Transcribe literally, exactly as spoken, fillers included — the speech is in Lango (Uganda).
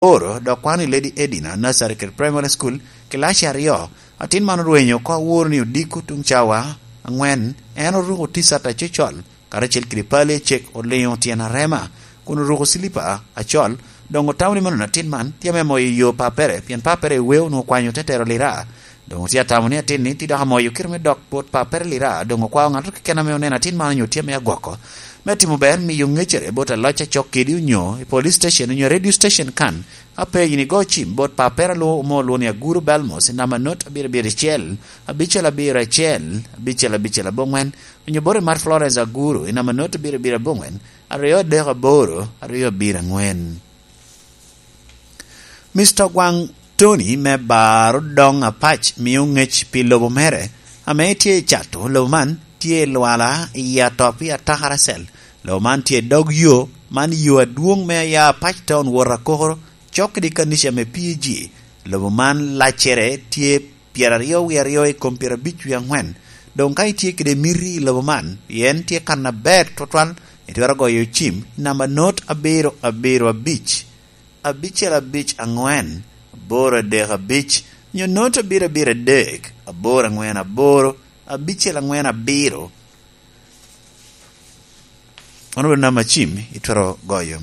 Oro dok kwano i Lady Edina Nursery kede Primary School kilaci aryo. Atin man orwenyo oko aworo ni odiko tuŋ cawa aŋwen. En oruko ticat acocol karacel kede pale cek oliŋo tyen arema, kun oruko cilipa acol. Doŋ otamo ni mano atin man tye ame moyo yo papere, pien papere eweo onwoŋo okwanyo te tero lira. Doŋ otye atamo ni atin ni tye dok amoyo kite me dok bot papere lira. Doŋ okwao ŋato keken ame oneno atin man onyo tye ame agwoko me timo ber, miyo ŋecere bot aloc acok kedi onyo i police station onyo radio station kan. Apenyo ni go cim bot papere alwo omo olwo ni Aguru Belmos i namba not abiro abiro acel, abicel abiro acel, abicel abicel aboŋwen, onyo bot i Mar Florence Aguru i namba not abiro abiro aboŋwen, aryo adek aboro, aryo abiro aŋwen. Mister Ogwaŋ Tony me bar odoŋ Apac mio ŋec pi lobo mere ame tye i cato. Lobo man tye i Lwala i Atop i Atakaracel. Lobo man tye i dog yo man, yo adwoŋ me aya Apac Town wot Akokoro, cok kede kanica me P G. Lobo man laccere tye pyeraryo wie aryo i kom pyerabic wie aŋwen. Doŋ ka itye kede miti i lobo man, pien tye kan aber twatwal, itwero goyo cim i namba not abiro abiro abic, abicel abic aŋwen, aboro adek abic, nyo not abiro abiro adek, aboro aŋwen aboro, abicel aŋwen abiro. Mano obedo namba cim itwero goyo.